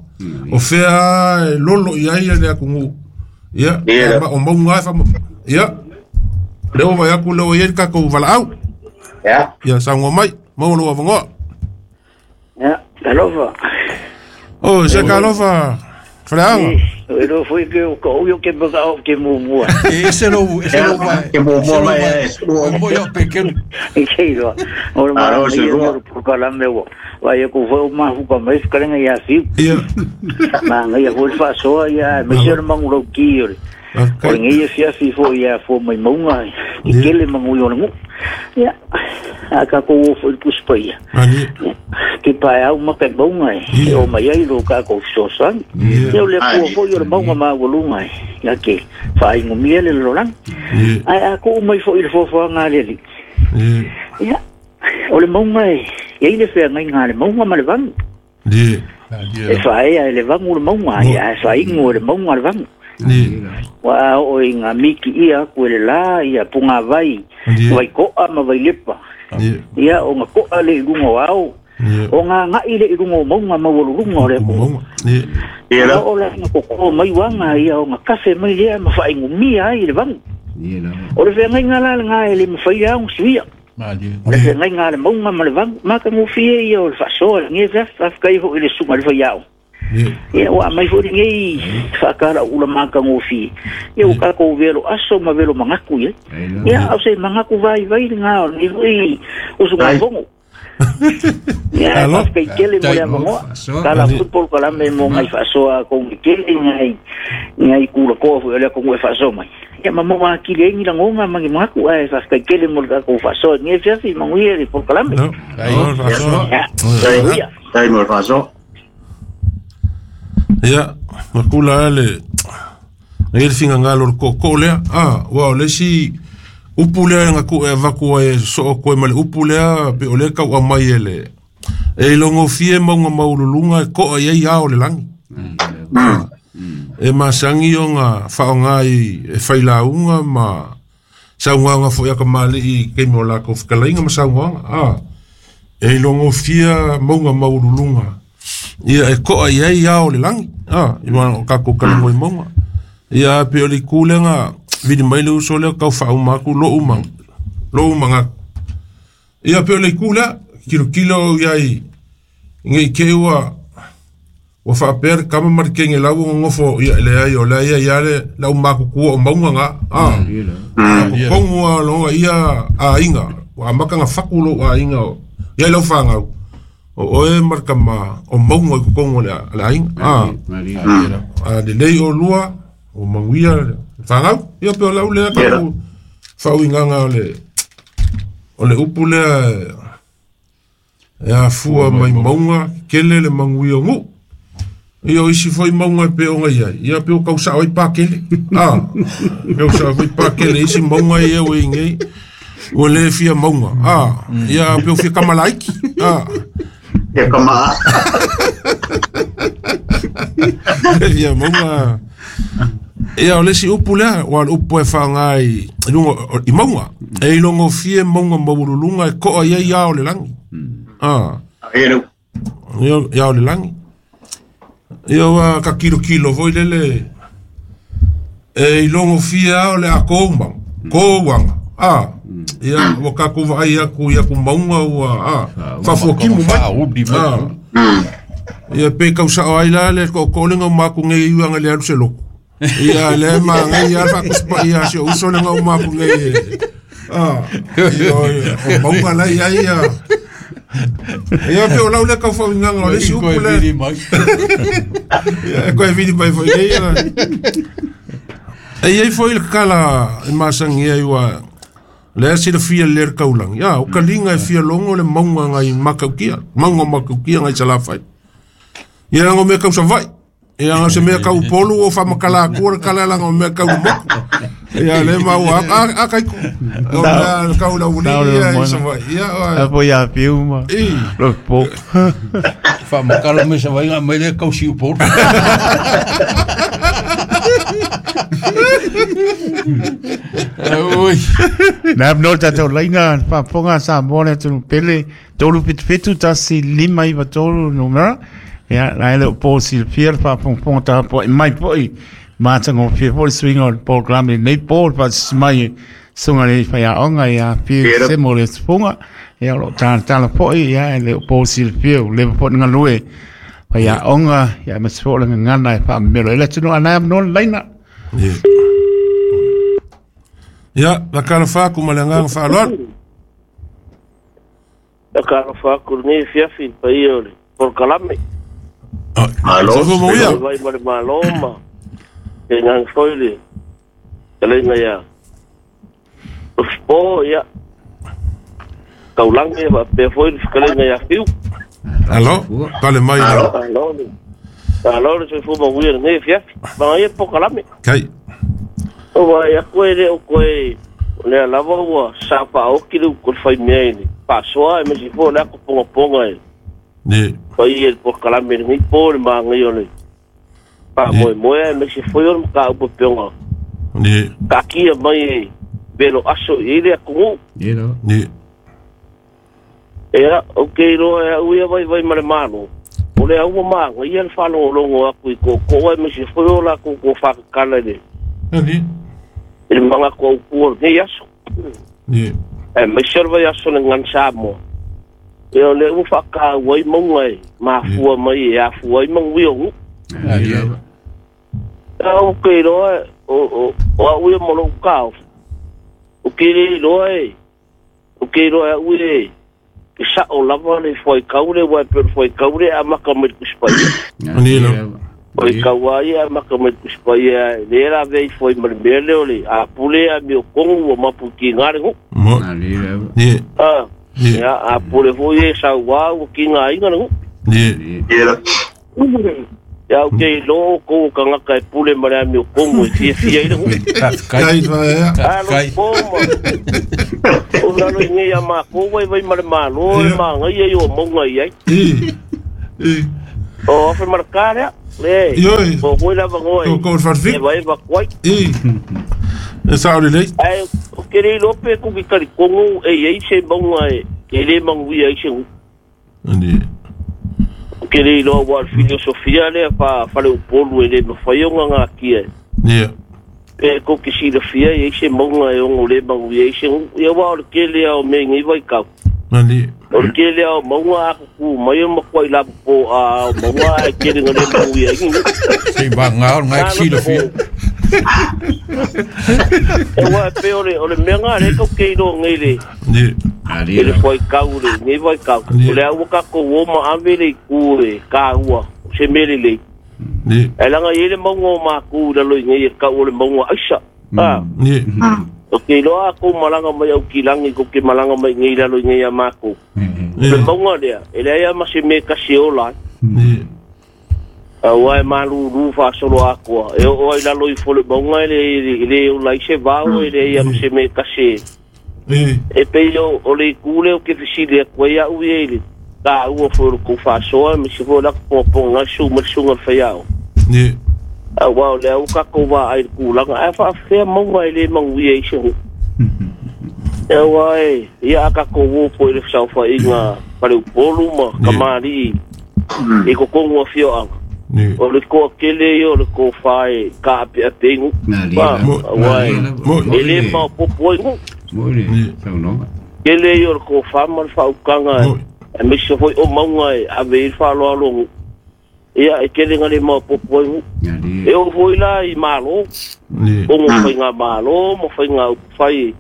o fea e lolo i ai le atunuu ia o mauga e ia lea ua vai atu lea ua i ai le tatou valaau ia saunoa mai maua lou avanoa ia talofa o se talofa faleaga e lo foi que o ko yo ke baka o ke mumua e se lo ke mumua mai o mo yo pekelu e ke lo o ma yo por kala me wo vai ko foi ma fu ka mai kalenga ya fi ia ma ngai foi fa so ya me se mangulo ki o o ngai fia fi fo ya fo mai maunga e kele mangu yo ngu ia a ka ko fo puspa ia ke pa au ma ka maunga e o mai ai lo ka ko so san e o le ko fo yo maunga ma wolunga ia ke fa ingu miele lo lang ai a ko mai fo il fo fo nga le ia o le maunga e ia ile fe ngai nga le maunga ma le vang e fa e le vangu le maunga ia fa ingu le maunga le vangu wa o inga miki ia ku le la ia punga vai vai koa ma vai lepa ia o nga koa le lunga au o nga ngai le lunga maunga ma wolunga le ko ia o la nga ko mai wanga ia o nga kafe mai le ma fa ingumia ai le vangu o le fe ngai nga la nga le ma fa ia un suia o le fe ngai nga le maunga ma le vangu ma ka ngufie ia o le fa so nge fa fa kai ho ile sunga le fa ia ia ua mai foi ngai whakara ula maka ngofi ia o kako velo aso ma velo mangaku ia ia au se mangaku vai vai ngā o ni foi o sunga vongo ia kai kele mo le vongo kala football kala me mo ngai whasoa ko kele ngai ngai kula koa foi le ko ngai whasoa mai ia ma mo akile ngi la ngonga mangi mangaku ai fa kai kele mo le ko whasoa ngai fiafi manguia le por kala me ai mo whasoa ia makula le ngai le finagalo o le kookoo lea ua o le isi upu lea ga ku e avaku ai e soo koe ma le upu lea pe o lea tau'a mai e le e ilogofie mauga maululuga e ko'a i ai ao le lagi E masangi o ngā whaonga i e whailaunga ma saungaanga foi aka mali i keimi o lākou whakalainga ma saungaanga. E longo fia maunga maululunga. Ia e koa i ai ao le langi. I wana o kako kalango i maunga. Ia pe o li kulenga vini mai le uso lea kau whaumaku lo umanga. Lo umanga. Ia pe o le kulea kilo kilo iai ngei keua wa whaapea kama mari kenge lau ngofo ia le ai o le ia ia le lau maku kua o maunga ngā. Kongu a longa ia a inga. Wa makanga fakulo a inga o. Ia lau whangau. O oe marka ma o maunga i kongu le le inga. A le lei o lua o manguia whangau. Ia pe o lau lea kau whauinganga o le upu lea e a fua mai maunga kele le manguia ngu. Ia o isi foi maunga pe o ngai ai. Ia pe o kau sao ai pākele. Kau sao ai pākele isi maunga ia o ingei. O le fia maunga. Ia pe o fia kamalaiki. Ia kama. Ia maunga. Ia o le si upu lea, wa le upu e whangai i maunga. E i longo fie maunga maululunga e koa ia ia o le langi. Ia o le langi. Ia wa ka kilo kilo foi lele. E i longo fie o le a koumang. Kouanga. Ia wa ka kuva ai aku ia ku maunga ua. Whafuakimu mai. Ia pe kausa o ai la le ko kolenga maku ngei iuanga le alu se loko. Ia le ma ngai ia fa ia se uso le ngau maku ngei. Ia o maunga la ia ia. Ia pe o lau le kau whauinganga o le si upu le. Ia koe vili mai foi nei. E iei foi le kala e masangi ai ua le asi le fia le kaulang. Ia o kalinga e fia longo le maunga ngai makaukia. Maunga makaukia ngai salafai. Ia ngo me kau savai. Ia ngo se me kau polu o whamakala kua kala langa o me kau moku. Ia le mau a kai ku. O mea kau la uli ia i savai. Ia a po ia piuma. Lo po. Whamakala me savai ngā mai le kau siu polu. Ui. Nā no tātou lainga whaponga sa mōne tunu pele tolu pitu pitu tasi lima iwa tolu numera. Ia, la ele o pō silfia le whaponga tā po i mai po i mātanga o fia po i swinga o le programe nei pō le whatismai e sunga le whai aonga i a fia se mo le tupunga. Ia, o lo tāna po i ia ele o pō silfia o lewa po ngā lue whai aonga ia me se po le ngana e whaamelo. Ele tunu anai am non laina. Ia, la kala whāku ma le nganga whaaloalu. La kala whāku nei fiafi pa ia o le porkalame. Alo. Vai vai ma le malo ma. E ngang foi le. Kalenga ia. Po ia. Kaulangi ma pe foi le kalenga ia fiu. Alo, kale mai. Alo. Alo le se fu ma uia nei fiafi. Ma ia porkalame. Kai. O vai a koe le o koe le lava ua sa pa o ki le ko fai mea ni. Pasoa e me si fo le ko ponga ponga e. Ne. Pai e por kalame ni po le manga yo le. Pa moe moe me si fo yo ka o ponga. Ne. Ka ki mai velo aso i le ko. Ne no. Ne. Era o ke ro e uia vai vai mare malo. O le au manga ia le falo longo aku i ko ko e me si fo yo la ko ko fa kala le. Ne. Il manga ko ko ne aso. Ne. E me serva aso le ngan samo. E o le ufa ka wai monga e ma fua mai e a fua i mangu yo. O ke ro o o a ui mo lo ka. O ke ro e o ke ro e ui e sa o lava le foi kaure wa per foi kaure a maka me kuspai. Ni lo. Foi kauai a maka me kuspai le ra vei foi mele ole a pule a mi o kongu o mapu ki ngare ho. Mo. Ni. Ah. Ia a pule foi e sa wa o ki ngai ngare ho. Ni. Ia o ke lo ko kanga e pule mare mi o kongu e fia fia i ho. Kai kai. O na lo ngi ya ma ko wai wai mare malo e ma ngai e o monga i ai. I. O afe mare kare. Le. Ioe. Po foi lava ngoi. Ko ko farfi. E vai va kuai. I. E sa le lei. Ai o ke le lope ku ki kari kongo e ei se maunga e e le manguia i se Ani. O ke le iloa ua le filosofia lea fa fale upolu e le mafai ona gakia. Ia. Pe ko ke silafia e se maunga e ono le manguia i se ia ua o le kele ao me ngai vai kau. Ani. O le kele ao maunga a kuku mai o makuai lapu po a o maunga e kele ngā le manguia i. Se ba ngā ngai silafia. E ua pe o le mea ngā le kau ke iloa ngai le. Ni. I le foi kau le ngai vai kau. O le au ka ko o ma ave le ku e ka ua se mele le. Ni. E langa i le maunga o māku la loi ngai e kau o le maunga aisa. Ah. Ni. O ke iloa ko malanga mai au ki langi ko ke malanga mai ngai la loi ngai a māku. Le maunga lea, e lea ma se me kasi o lai. Ni. Aua e malulu whaasolo akoa. E o ai lalo i fole maunga e le o lai se vao e lea ma se me kasi. E pei o le kule o ke fisili a koe au e le. Ka ua fo ko whaasoa me se fo laka pōpō ngā su ma sunga whaiao. Ni. Aua o le au kako wā ai le kūlanga. Ai whaafea maunga e le manguia i se hu. E aua e, ia a kako wōpo i le whasauwha i ngā pare upolu ma kamari i kokongu a whio anga. O le koa kele i o le koa whae ka ape ape ingu. Aua e, e le mao popo ingu. Kele i o le koa whae ma le whaukanga e misa foi o maunga e ave i whaaloalo ngu. Ia e kele ngā le mao popo ingu. E o foi la i malo. O ngō whai ngā malo, mo whai ngā upawhai.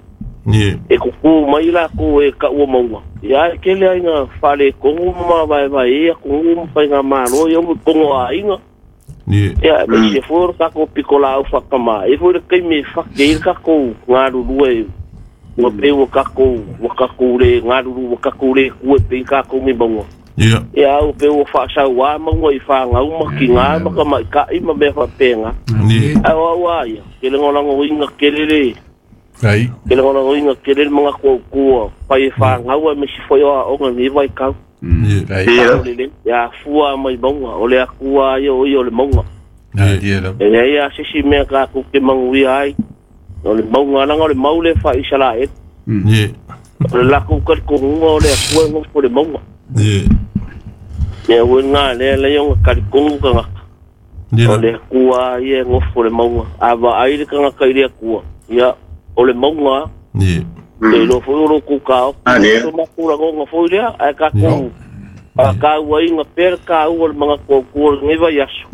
E kuku mai la ko e ka ua maunga. Ia e kele ai ngā whale kongo ma vai vai e kongo ma whai ngā malo ia mo kongo a inga. Ia e me se fōra kako piko la au whakama. E fōra kei me whake i kako ngā ruru e ngā peu kako wakako le ngā ruru wakako le kue pe i kako ngi maunga. Ia au peu whaasau a maunga i whāngau ma ki ngā maka mai ka ima mea whapenga. Au au a ia. Kele ngolango inga kele le. Ai. Ke le ngona inga ke le mga ko ko pai fa ngaua me si foi o nga ni vai kau. Ai. Ya fua mai maunga o le akua ia o ia o le maunga. Ai dia. E ia se si mea ka ku ke manguia ai. O le maunga langa o le maule fa Israel. Ni. O le la ku ka ko ngunga o le akua ngo po le maunga. Ni. Ya o nga le le yo ka ko ngunga nga. O le akua ia ngo po le maunga. Ava ai le ka nga ka ile akua. Ya o le maunga. Ni. E lo foi o ku ka. O makura ngonga foi lea ai ka ku. A ka ua inga per ka ua le mga ko ku ngai vai aso.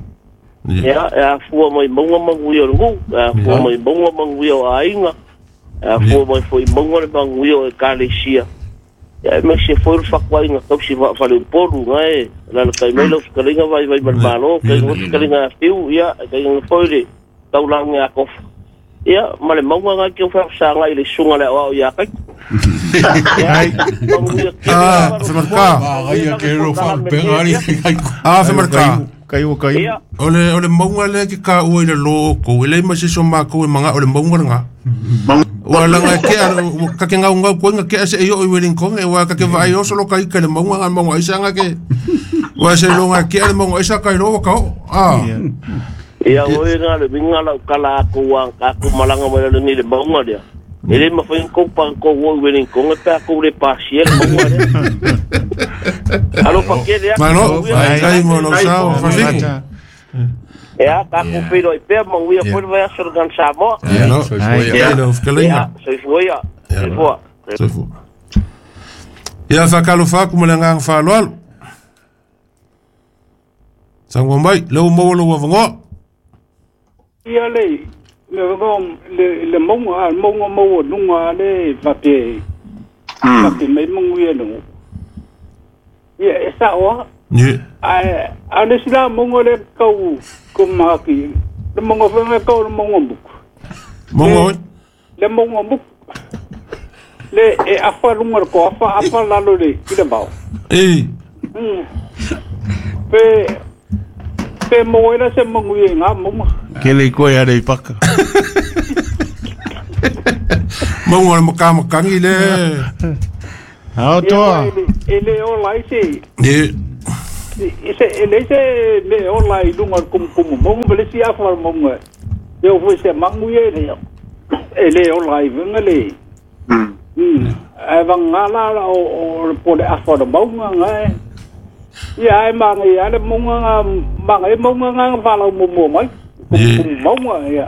Ia e a fua mai maunga manguia o ngu, a fua mai maunga manguia o ainga. A fua mai foi maunga le manguia o ekalesia. Ia e me se foi le fakuainga tausi fale upolu ngai la kai mai lo skalinga vai vai malo kai ngo skalinga fiu ia kai ngo foi le taulanga a kofa. Ia ma le maunga ngai ke o whaasanga i le sunga le o ia kai. Ai. Ah, femarka. Ai ke ro fa pengari. Ah, femarka. Kai o kai. O le maunga le ke ka ua i le lo ko le ma se so ma ko manga o le maunga nga. Ua langa ke ka ke ngau ngau ko nga ke se yo i weling kong e wa ka ke vai o solo kai ke le maunga nga maunga isa nga ke. Ua se lo nga ke le maunga isa kai lo ka. Ah. Ia oi ngā le winga lau kala ako wang ako malanga mai le ni le maunga lea. E le mawhai ko pang ko woi weling kong e pā ko le pāsia le maunga lea. Alo pake lea. Malo, ai mo lo sao, fasiki. Ea, ka ko piro i pea manguia foi le vai aso le gan Samoa. Ia, no, soifua. Soifua ia. Soifua. Soifua. Ia whakalo whaku ma le nganga whaaloalo. Sangwa mai, leo maua lo wavangoa. Ia le le maunga maunga maua nunga le vape vape mai manguia no ia e sa o ni a a le sila maunga le kau ko maki le maunga fa kau le maunga buku maunga le maunga buku le e afa lunga ko afa afa lalo le i le mau e pe pe moera se manguia ngā maunga. Kele koe are i paka. Maunga le makamakangi le. Ao toa. E le o lai se. Ni. Se e le se me ola i lunga o le kumukumu mauga ma le isi afa o le mauga e oo foi i se magu ia e le ola ai faiga le ae vagagā la o le po le afa o le mauga gae ia ae magaia lava le mauga ga magaia mauga ga na falau muamua mai kumukumu mauga ia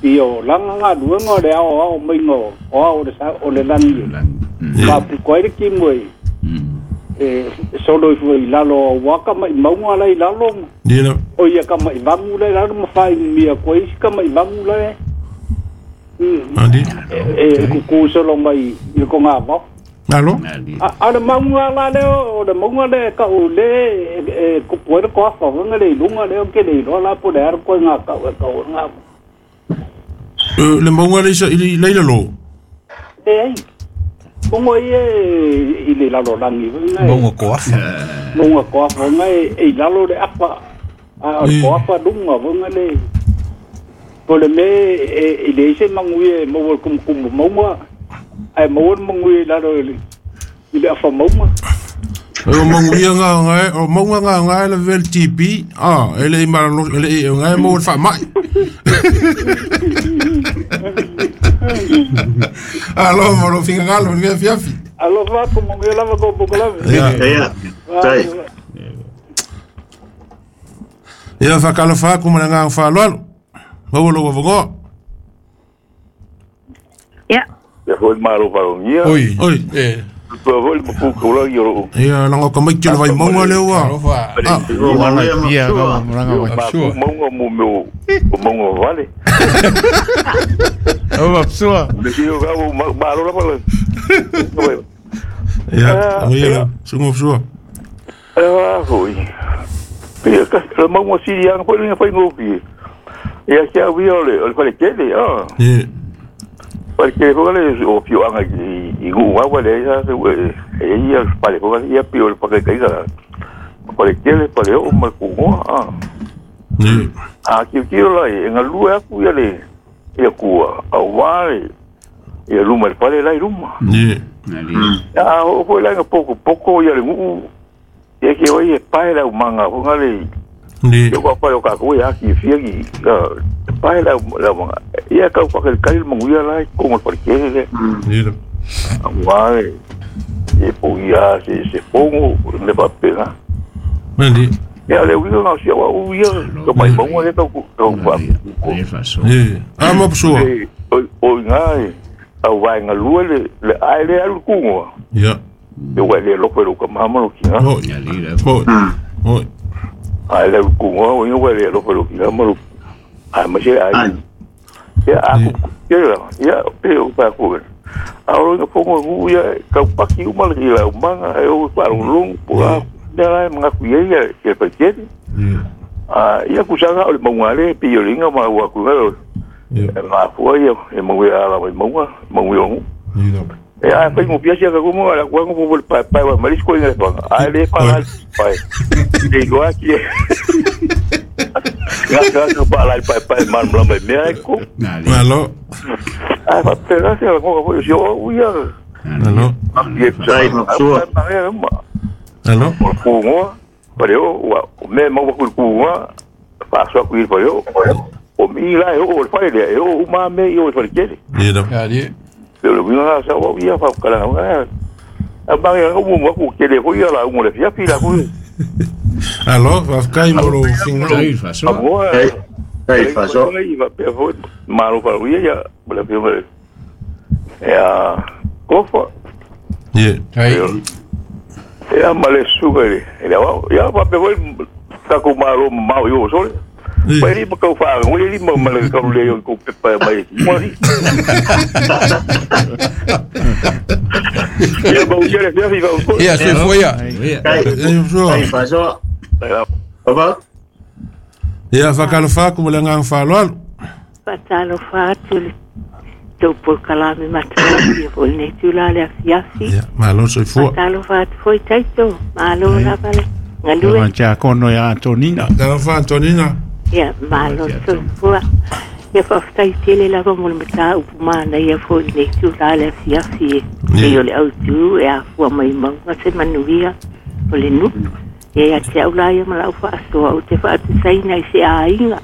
ia o laga galuega o le aoao maiga o ao o le lagi e faapito ai le timu e solo ifo i lalo auā kamaʻimauga la i lalo o ia kamaʻivagu la i lalo ma faainumia atu ai isi kamaʻivagu la e e kukū solo mai i le togavao. Alo. A o le mauga la lea o le mauga lea e kau le e tupu ai le toafa foi le i luga lea ou te le iloa la po o le a le ituaiga kau e kau ai lena. Le mauga le i la i lalo. Leai. Mauga ia i le lalolagi foi na. Mauga toafa. Mauga toafa foi na e i lalo le afa a o le toafa luga foi na le. Po o le mea e leai se manuia e maua i le tumutumu mauga ae maua le manuia i lalo i le afa mauga. O manuia nga nga o mauga nga nga le vel TB ah ele i malalo ele i nga mo le faamai. Alo mo lo fingalo ni fiafi. Alofa atu manuia lava kou polokalame. Ia. Ia. Tai. Ia whakalofa atu ma le agaga faaaloalo. Maua lou avanoa. Ia. Ia foi le Malo Faaalogia. Oi. Oi. E. Tua foi le mapu kaulagi o loo. Ia laga o tamaiti o le Vaimauga lea ua. Alofa. Ah. Ia lava malaga mai. Mapu mauga mo mea o mauga vale. O mapsua. Le kio ka o malo lava le. Ia, ia, sunga mapsua. Ah, foi. Ia ka le mauga sili anga foi le fai ngofi. Ia kia ui o le fale tele, ah. Ia. Fale tele foi le o fio anga i ngu awa le ia se e ia fale foi ia pio le pakaikai Fale tele fale o ma ku ngoa, ah. Ia. A kiu kiu la e ngalue aku ia le ia kua au wale ia luma le fale lai luma. Ia. A o foi la poko poko ia le ngu ia ke oi e pae la manga ho ngale. Ia. Ia pa o ka ko ia ki fia ki pae la la manga. Ia ka pa ke kai mangu ia lai ko ngol parke le. Ia. Wale e po ia se se pongo me pa pena. Mandi. Ia le uiga ngau sia wa uia ka mai maunga le tau tau pa. Ia. A mapsua. O ngai au vai ngalua le le ai le alu kungoa. Ia. E wa le loko lo ka mama lo kinga. Oi. Oi. Oi. Ai le kungoa o wa le loko lo kinga ma lo. Ai ma se ai. Ia a ku ia ia pe o pa ku. A o nga pongo ngu ia ka paki uma le ila manga e o pa long po a la mga ku ia ia ke pa ke. A ia ku sanga o le maunga le pi o linga ma wa ku ga. Ia. Ma fu ia e mau ia la mai maunga mau ia ngu. Ia. E a fai mo pia sia ka kumu ala kuangu po pa pa wa maris ko inga pa. A le pa la pa. E go aki. Nga ka pa la pa pa man bla me me ko. Alo. A pa pera sia ko ko yo o ia. Alo. Tai mapsua. Alo. Ko ngo pa yo wa me mo ko ku ngo pa so ku pa yo. O mi la yo o pa le yo o ma me yo pa le. Ia. Ia ali. Pero mi nga sa wa ia fa kala nga. A ba ya ko mo ku ke le ko ia la ngo le fia fi la ku. Alo, whafkai mo lo finga. Tai faso. Malo pa ia ia le fia me. Ya kofa. Ia. Ai. Ya male suga le. Ya wa ya pa pe voi ta ku malo mau yo sole. Pai ma kau fa ngo li ma ma le kau le yo ku pe pa mai. Mo li. Ya ba u le fia fi va. Ia se foi ia. Tai faso. Papa. Ia whakalofa atu ma le agaga faaaloalo. Faatalofa atu le tou polokalame matalafi ia foi lenei tula le afiafi. Ia, malo soifua. Faatalofa atu foi taito. Malo lava le galue. Tia kono ia Antonina. Talofa Antonina. Ia, malo soifua. Ia faafetai tele lava mo le mataupu manaia foi lenei tula le afiafi e. E o le autū e afua mai mauga se manuia o le nuu. E ia te au la ia ma lau faasoa, ou te faatusaina i se aiga.